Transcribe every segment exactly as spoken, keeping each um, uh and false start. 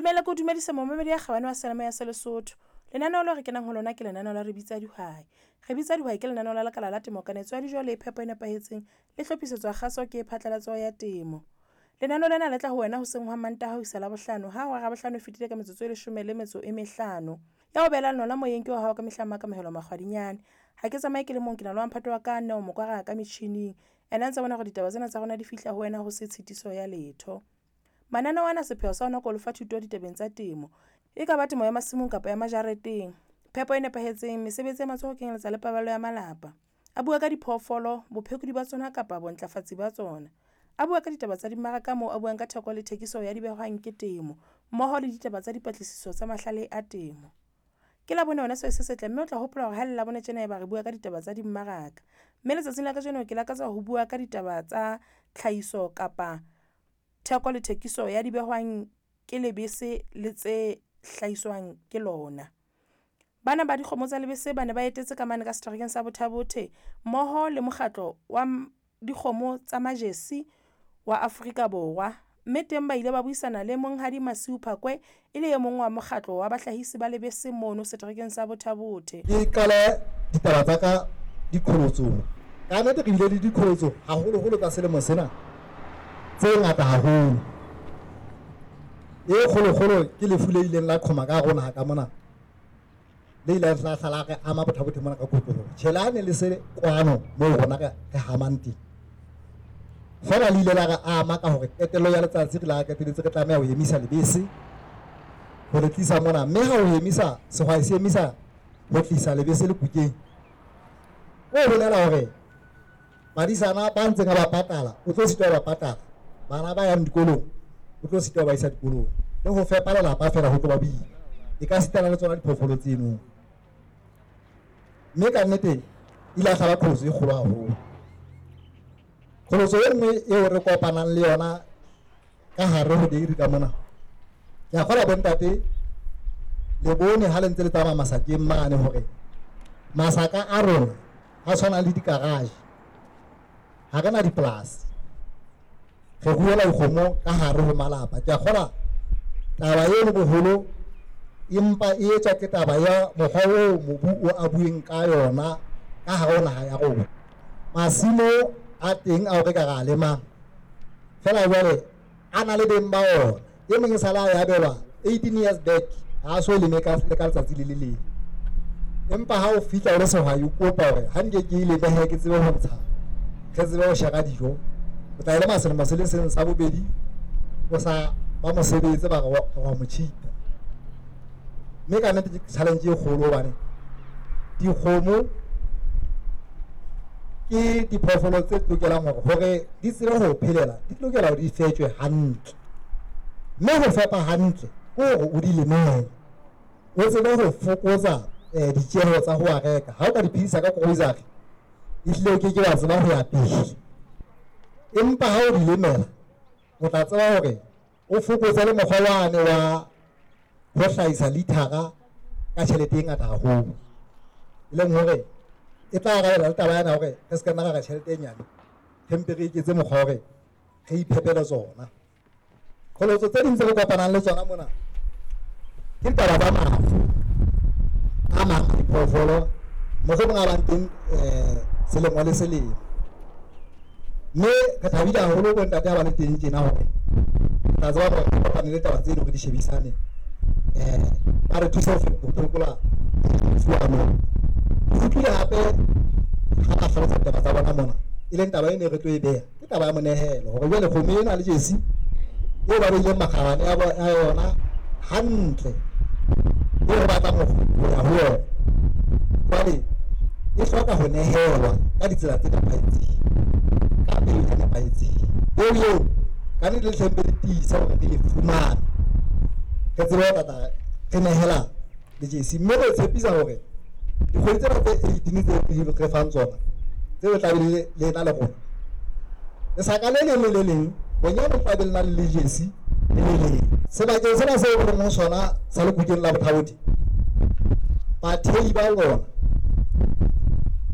Ntumelle ke o dumedise momamedi ya kgabane wa Seyalemoya ya Lesotho. Lenaneo leo re kenang ho lona ke lenaneo la Re Bitsa Dihwai. Re Bitsa Dihwai ke lenaneo la lekala la temo, kanetso ya dijo le phepo e nepahetseng le hlophisetswa kgaso ke phatlalatso ya temo. Lenaneo lena le tla ho wena hoseng hwa Mantaha ho isa Labohlano ha hora ya bohlano e fetile ka metsotso e leshome le metso e mehlano. Ya ho behelang lona moyeng ke wa hao ka mehla Makamohelo Makgwadinyane. Ha ke tsamaye ke le mong, ke na le wa mphato wa ka Neo Mokwara ka metjhining. Ena ntse bona hore ditaba tsena tsa rona di fihla ho wena ho se tshitiso ya letho. Mananeo ana sepheo sa ona ke ho lefa thuto ditabeng tsa temo. E ka ba temo ya masimong kapa ya majareteng, phepo e nepahetseng, mesebetsi ya matsoho ho kenyeletsa le paballo ya malapa. A bua ka diphoofolo, bophekodi ba tsona kapa bontlafatsi ba tsona. A bua ka ditaba tsa dimmaraka moo a buang ka theko le thekiso ya dibehwang ke temo, mmoho le ditaba tsa dipatlisiso tsa mahlale a temo. Ke Labone wena sehwai se setle, mme o tla hopola hore ha le Labone tjena eba re bua ka ditaba tsa dimmaraka. Mme letsatsing la kajeno ke lakatsa ho bua ka ditaba tsa tlhahiso kapa theko le thekiso ya dibehwang ke lebese le tse hlahiswang ke lona. Bana ba dikgomo tsa lebese ba ne ba etetse ka mane ka seterekeng sa Botha-Bothe mmoho le mokgatlo wa dikgomo tsa Majesi wa Afrika Borwa. Mme teng ba ile ba buisana le Monghadi Masiu Phakwe e le e mong wa mokgatlo wa bahlahisi ba lebese mono seterekeng sa Botha-Bothe. Ke qale ditaba tsa ka diqholotsong. Ka nnete re bile le diqholotso haholoholo tsa selemo sena tse ngata haholo. E kgolokgolo ke lefu le ileng la qhoma ka rona ka mona, le ile la hla la re ama Botha-Bothe mona ka kotloloho. Tjhe, le ha ne le se kwano moo rona re hamang teng, feela le ile la re ama ka hore qetello ya letsatsi re la qetelletse re tlameha ho emisa lebese ho le tlisa mona. Mme ha o emisa, sehwai se emisa ho tlisa lebese lekukeng, o bolela hore badisana ba ntseng ba patala, o tlo sitwa ba patala. Bana ba yang dikolong, o tlo sitwa ba isa dikolong. Le ho fepa lelapa feela ho tlo ba boima. E ka sitana le tsona diphoofolo tseno. Mme ka nnete ile ya hlaba qholotso e kgolo haholo. Qholotso e nngwe eo re kopanang le yona ka hare ho dairy ka mona, ke a kgolwa bontate le bone ha le ntse le tsamaya masakeng mane hore masaka a rona a tshwana le di-garage. Ha re na dipolasi, re ruela dikgomo ka hare ho malapa. Ke a kgolwa taba eno boholo empa e etswa ke taba ya mokgwa oo mobu o abueng ka yona ka hare ho naha ya rona. Masimo a teng ao re ka ra lemang feela jwale a na le beng ba ona. E meng e sala ya abelwa eighteen years back, ha so leme ka le ka letsatsi le le leng. Empa ha o fihla o le sehwai o kopa hore ha nke ke ile behe ke tsebe ho ntsha, re tsebe ho shera dijo, o tla e lema selemo se le seng sa bobedi o sa ba mosebetse ba re wa mo cheat-a. Mme ka nnete ke challenge e kgolo hobane dikgomo ke diphoofolo tse lokelang hore hore di tsebe ho phelela, di lokela hore di fetjwe hantle. Mme ho fepa hantle ke hore o di lemele, o tsebe ho fokotsa eh ditjeho tsa ho a reka. Ha o ka di phedisa ka grocery, ehlile o keke wa tseba ho ya pele. Empa ha o di lemela, o tla tseba hore o fokotse le mokgwa wane wa ho hlahisa lithara ka tjhelete e ngata haholo, e leng hore e tla arabela le taba yana hore re se ka nna ra re tjhelete e nyane, re mpe re iketse mokgwa hore re iphepele tsona. Qholotso tse ding tse re kopanang le tsona mona ke ditaba tsa mafu a mang a diphoofolo, mohlomong a bang teng eh selemo le selemo. Mme re thabile haholo bontate ha ba le teng tjena hore re tla tseba hore re kopane le taba tseno re di shebisane, eh ba re thuse ho phekola mafu ano. Ke utlwile hape ha ba hlalosa ditaba tsa bona mona, e leng taba e ne re tlo e beha ke taba ya monehelo, hore jwale kgomo ena le jesi eo ba beileng makgabane a yona hantle, eo re batlang ho ya ho yona, jwale e hloka ho nehelwa ka ditsela tse nepahetseng, ka peo e nepahetseng. Eo eo ka nnete le hlempe le tiisa hore re e fumane, re tsebe ho tla re nehela le jesi. Mme re tshepisa hore dikgwedi tsena tse eighteen tse re fang tsona, tseo tla be le le ena le rona, lesaka le leng le le leng bonyane o tla be le na le jesi le le leng. Sebakeng sena seo re leng ho sona sa Lekukeng la Botha-Bothe, bathei ba lona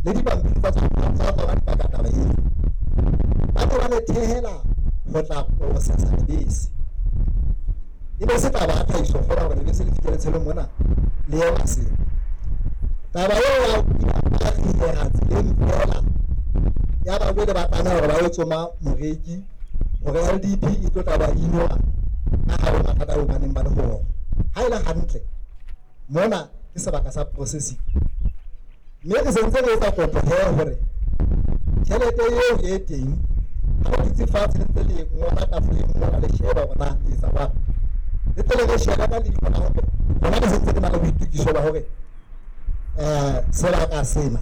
le dipampiri tsa tsona di paka taba eo, ba ne ba le thehela ho tla processa lebese. E be se taba ya tlhahiso feela hore lebese le fihle letshelong mona le ye Maseru. Taba eo ya ya tseleng feela ya ba jwale ba tlameha hore ba yo tsoma moreki hore L D P e tlo tla ba inola ka hare ho mathata ao ba neng ba le ho ona. Ha e le hantle mona ke sebaka sa processing, mme re sentse re etsa kopo he hore tjhelete eo e teng ha ba dutse fatshe le ntse le ngola tafoleng mona le sheba hore na le etsa jwang, le tle le re shebe ka leihlo la hore rona re sentse re na le boitokiso ba hore eh sebaka sena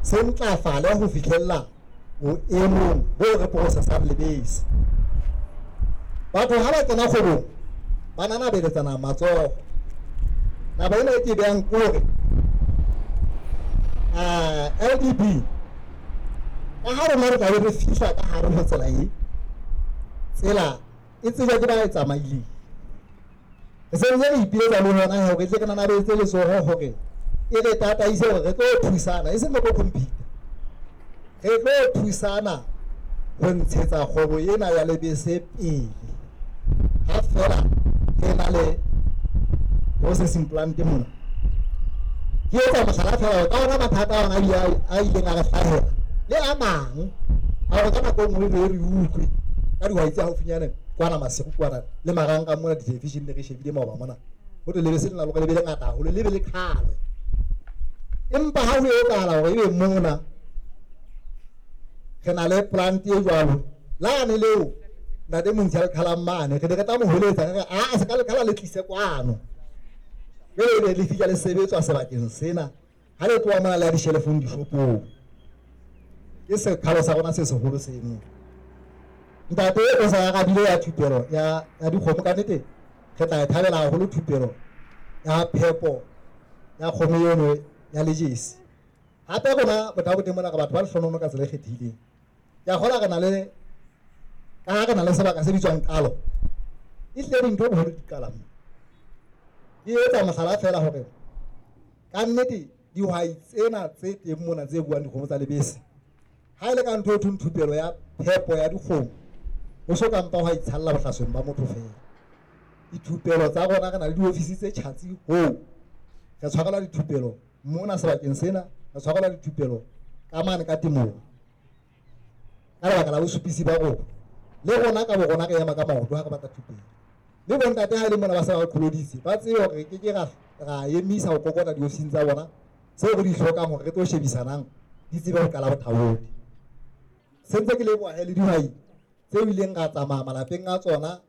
se ntlafale ho fihlella boemong bo re processang lebese. Batho ha ba kena kgwebong ba nanabeletsana matsoho. Taba ena e ke behang ke hore eh L D B ka ha rona re tlabe re fihla ka hare ho tsela e, tsela e tsejwa ke ba e tsamaileng. Re sentse re ipiletsa le hona hore tle re nanabetse letsoho hore e re tataise hore re tlo thusana, e seng re tlo compete. Re tlo thusana ho ntshetsa kgwebo ena ya lebese pele ha feela re na le processing plant mona. Ke etsa mohlala feela hore ka ona mathata a ona a ileng a re hlahela le a mang a hore ka nako e nngwe re re utlwe ka dihwai tse haufinyane kwana Maseru kwana le marangrang mona di-television re shebile maoba mona, ho thwe lebese lena le hore le be le ngata haholo, le be le qhalwe. Empa ha ho etsahala hore ebe mona re na le plant e jwalo, lane leo ntate Montsho a le qhalang mane, re ne re tla mo holetsa re re a se ka le qhala le tlise kwano. Jwale ebe le fihla le sebetswa sebakeng sena, ha le tloha mona le ya dishelefong dishopong. Ke sekgalo sa rona se seholo seno. Ntate o sa arabile ya thupelo ya ya dikgomo, ka nnete re tla e thabela haholo thupelo ya phepo ya kgomo eno ya lejesi. Hape rona Botha-Bothe mona re batho ba lehlohono ka tsela e kgethehileng. Ke a kgolwa re na le, ka ha re na le sebaka se bitswang Qalo, e hlile dintho boholo di qala moo. Ke etsa mohlala feela hore ka nnete dihwai tsena tse teng mona tse buang dikgomo tsa lebese, ha e le ka ntho e thweng thupelo ya phepo ya dikgomo, ho so ka mpa hwa itshalla bohlasweng ba motho feela. Dithupelo tsa rona re na le diofisi tse tjhatsi hoo, re tshwarelwa dithupelo mona sebakeng sena, re tshwarelwa dithupelo ka mane ka temong ka lebaka la bosupisi ba rona. Le rona ka bo rona re ema ka maoto ha re batla thupelo. Mme bontate ha e le mona ba se ba qholoditse, ba tsebe hore re keke ra, ra emisa ho kokota diofising tsa bona tseo re di hlokang hore re tlo shebisanang di tsebe ho qala Botha-Bothe. Sentse ke leboha he le dihwai tseo ileng ra tsamaya malapeng a tsona,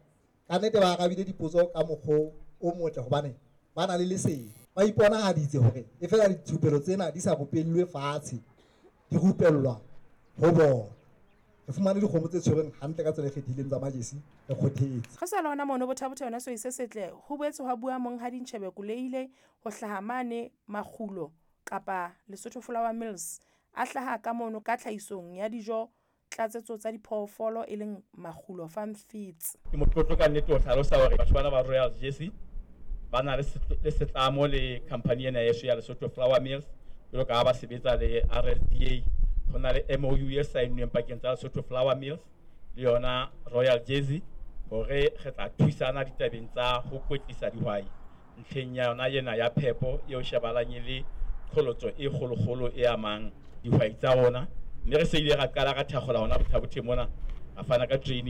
ka nnete ba arabile dipotso ka mokgwa o motle hobane ba na le lesedi. Ba iponahaditse hore e feela dithupelo tsena di sa rupellwe fatshe, di rupellwa ho bona. Re fumane dikgomo tse tshwerweng hantle ka tsela e kgethehileng tsa majesi, re kgothetse. Re sa le hona mono Botha-Bothe yona sehwai se setle, ho boetse hwa bua Monghadi Ntjhebe Koleile ho hlaha mane Makgulo kapa Lesotho Flour Mills, a hlaha ka mono ka tlhahisong ya dijo tlatsetso tsa diphoofolo e leng Makgulo Farm Feeds. Ke motlotlo ka nnete ho hlalosa hore batho bana ba Royal Jersey ba na le setlamo le company ena yeso ya Lesotho Flour Mills, jwalo ka ha ba sebetsa le R L D A. Ho na le M O U e saennweng pakeng tsa Lesotho Flour Mills le yona Royal Jersey hore re tla thusana ditabeng tsa ho kwetlisa dihwai ntlheng ya yona ena ya phepo eo shebahalang e le qholotso e kgolokgolo e amang dihwai tsa rona. Mme re se ile ra qala ra thakgola hona Botha-Bothe mona, ra fana ka training.